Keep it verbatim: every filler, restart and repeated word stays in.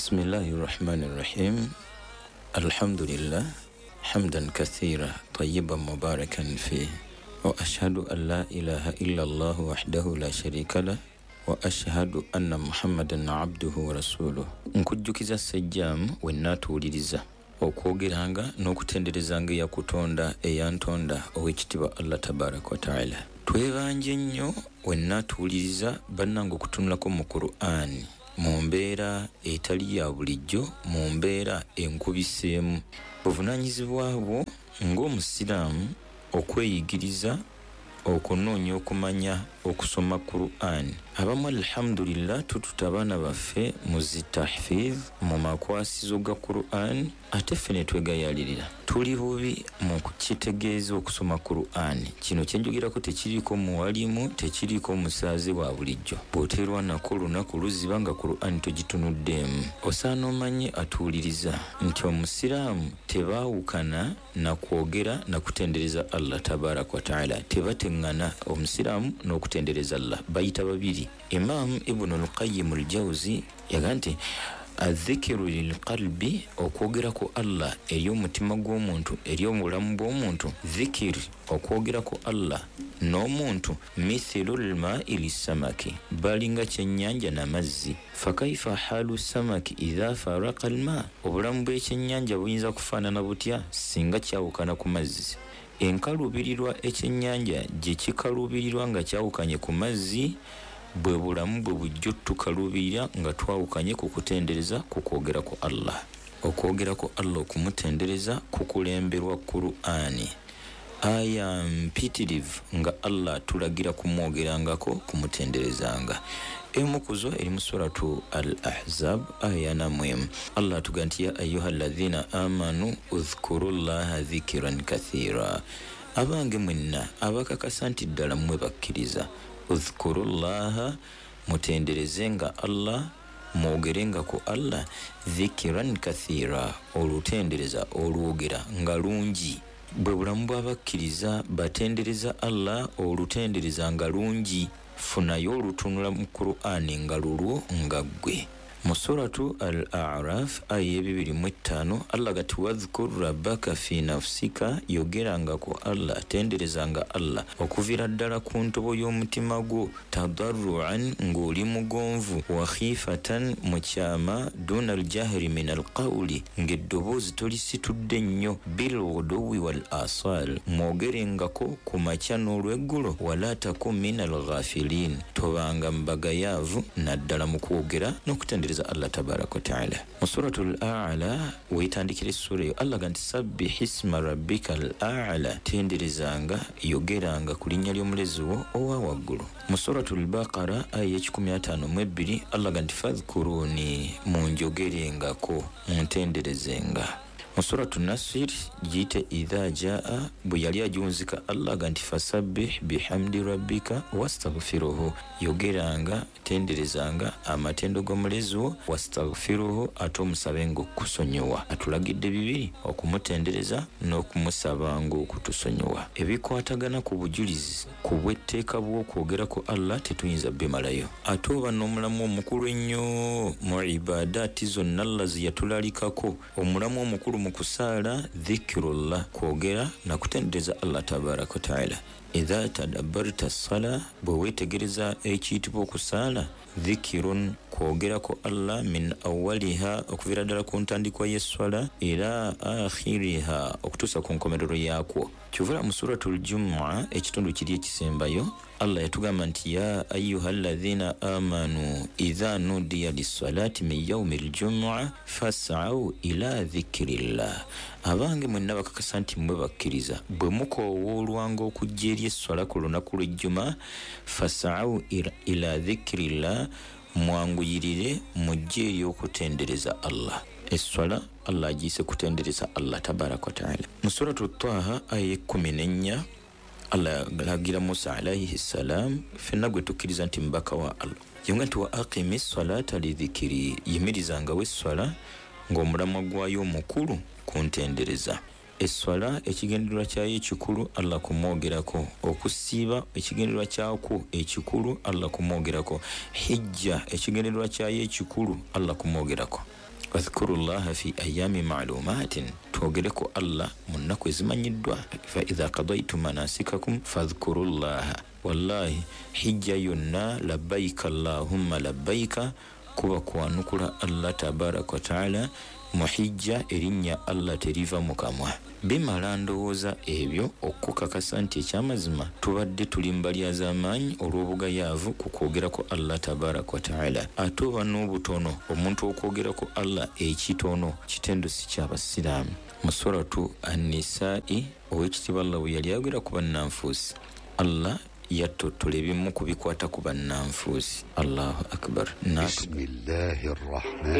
Bismillahi rahmani rahim. Alhamdulillah hamdan kathira tayyiban mubarakan fi wa ashhadu an la ilaha illa Allah wahdahu la sharika lah wa ashhadu anna Muhammadan abduhu wa rasuluh. Nkujjukiza Ssejjaamu wenna atuwuliriza okwogeranga n'okutenderezanga eyakutonda eyantonda ow'ekitiibwa Allah tabaraka wa taala. Twebanje nnyo wenna atuwuliriza bannange okutunulako mu Qur'an mu mbeera etali ya bulijjo, mu mbeera enkubiseemu. Buvunaanyizibwa bwo ng'omusiraamu okweyigiriza, okunoonya okumanya, okusoma Qur'an. Abamu alhamdulillah tututa abaana baffe mu zi tahfidh, mu makwasizo ga Qur'an, ate ffe ne twegayaalirira. Tuli bubi mu kukitegeeza okusoma Qur'an. Kino kye njogerako tekiriiko muwalimu, tekiriiko musaaze wa bulijjo. Bw'oteerwanako olunaku luziba nga Qur'an togitunuddeemu. Osaana omanye atuwuliriza nti omusiraamu tebaawukana na kwogera na kutendereza Allah tabaraka wa taala. Tebateŋŋana omusiraamu n'okutendereza Allah, bayita babiri. Imam Ibn al-Qayyim al-Jawzi yagamba nti adhikiru lilqalbi, okwogera ku Allah eri omutima gw'omuntu, eri obulamu bw'omuntu. Dhikiri, okwogera ku Allah n'omuntu, mithilu lma'i lissamaki, balinga kyennyanja n'amazzi. Fakaifa halu samaki idha faraqa alma, obulamu bw'ekyennyanja buyinza kufaanana butya singa kyawukana ku mazzi? Enkaluubirirwa ekyennyanja gye kikaluubirirwa nga kyawukanye ku mazzi, bwe bulamu bwe bujjo tukaluubirira nga twawukanye ku kutendereza, ku kwogera ku Allah. Okwogera ku Allah, okumutendereza kukulemberwa Qur'ani. Aya mpitirivu nga Allah atulagira kumwogerangako, kumutenderezanga. Emu ku zo eri mu suratu Al-Ahzab aya namwemu. Allah atugamba nti ya ayyuha alladhina amanu udhkurullaha dhikiran kathira. Abange mwenna abakakasa nti ddala mmwe bakkiriza, udhkurullaha, mutenderezenga Allah, mwogerenga ku Allah, dhikiran kathira, olutendereza olwogera nga lungi. Bwe bulamu bw'abakkiriza batendereza Allah olutendereza nga lungi. Funayo olutunula mu Qur'ani nga lulwo nga ggwe. Mu suratu Al-A'raf aya ebibiri mu ttaano Allah gati wadhkur rabbaka fi nafsika, yogeranga ku Allah, tenderezanga Allah okuviira ddala ku ntobo y'omutima gwo, tadarruan, ng'oli mugonvu, wa khifatan, mu kyama, duna aljahri min alqawli, ng'eddoboozi tolisitudde nnyo, bilghuduwi wal asal, mwogerengako ku makya n'olweggulo, wala takun min alghafilin, tobanga mu bagayaavu naddala mu kwogera n'okutendereza Allah tabaraka wa taala. Mu suratul A'la weetandikira essura eyo Allah gamba nti sabbih isma rabbika al-a'la, tenderezanga, yogeranga ku linnya ly'omulezi wo owa waggulu. Mu suratul Baqara aya ekikumi ataano mu ebbiri Allah gamba nti fadhkuruni, munjogerengako, muntenderezenga. Mu suratu Nasr giyite idha jaa, bwe yali agiwunzika Allah gamba nti fasabbih bihamdi rabbika wastaghfiruhu, yogeranga, tenderezanga amatendo g'omulezi wo, wastaghfiruhu, ate omusabenga okukusonyiwa. Atulagidde bibiri, okumutendereza n'okumusabanga okutusonyiwa. Ebikwatagana ku bujulizi ku bw'etteeka bw'okwogera ku Allah tetuyinza bimalayo. Ate oba n'omulamu omukulu ennyo mu ibadaati zonna Allah ze yatulalikako, omulamu omukulu mu kusaala dhikirullah, kwogera na kutendereza Allah tabaraka wa taala. Idha tadabbarta ssala, bwe weetegereza ekiyitibwa okusaala, dhikirun, kwogerako Allah, min awwaliha, okuviira ddala ku ntandikwa y'esswala, ila akhiriha, okutuusa ku nkomerero yaakwo. Kyovula mu suratul Jumua ekitundu kiri ekisembayo Allah yatugamba nti ya ayyuha alladhina amanu idha nudiya lissalati min yawmil jumua fas'au ila dhikrillah. Abange mwenna bakakasa nti mmwe bakkiriza, bwe mukoowoolwanga okujja eri esswala ku lunaku lw'ejjuma, fas'au ila dhikrillah, mwanguyirire mujje eri okutendereza Allah. Esswala Allah agiyise kutendereza Allah tabaraka wa taala. Mu suratu Taha aya ekkumi n'ennya Allah alagira Musa alayhi salam, ffenna gwe tukkiriza nti mubaka wa Allah, yonga nti wa aqimi ssalata lidhikiri, yimirizangawo esswala ng'omulamwa gwayo omukulu kuntendereza. Esswala ekigendererwa kyayo ekikulu Allah kumwogerako, okusiiba ekigendererwa kyakwo ekikulu Allah kumwogerako, hijja ekigendererwa kyayo ekikulu Allah kumwogerako. Wadhkurullaha fi ayami ma'lumatin, twogere ku Allah mu nnaku ezimanyiddwa. Fa idha qadaytum manasikakum fadhkurullaha. Wallahi hijja yonna labbaika allahumma labbaika kuba kwanukula Allah tabaraka wa taala. Mu hijja erinnya Allah teriva mu kamwa. Bimala ndowooza ebyo okukakasa nti ekyamazima tubadde tuli mbalya z'amaanyi olw'obugayaavu ku kwogerako Allah tabaraka wa taala. Ate oba n'obutono omuntu okwogerako Allah ekitono kitendo si ky'abasiraamu. Mu suratu An-Nisa'i owekitiibwa Allah bwe yali ayogera ku bannanfuusi, Allah yattottola ebimu ku bikwata ku bannanfuusi. Allahu akbar. Bismillahir rahmanir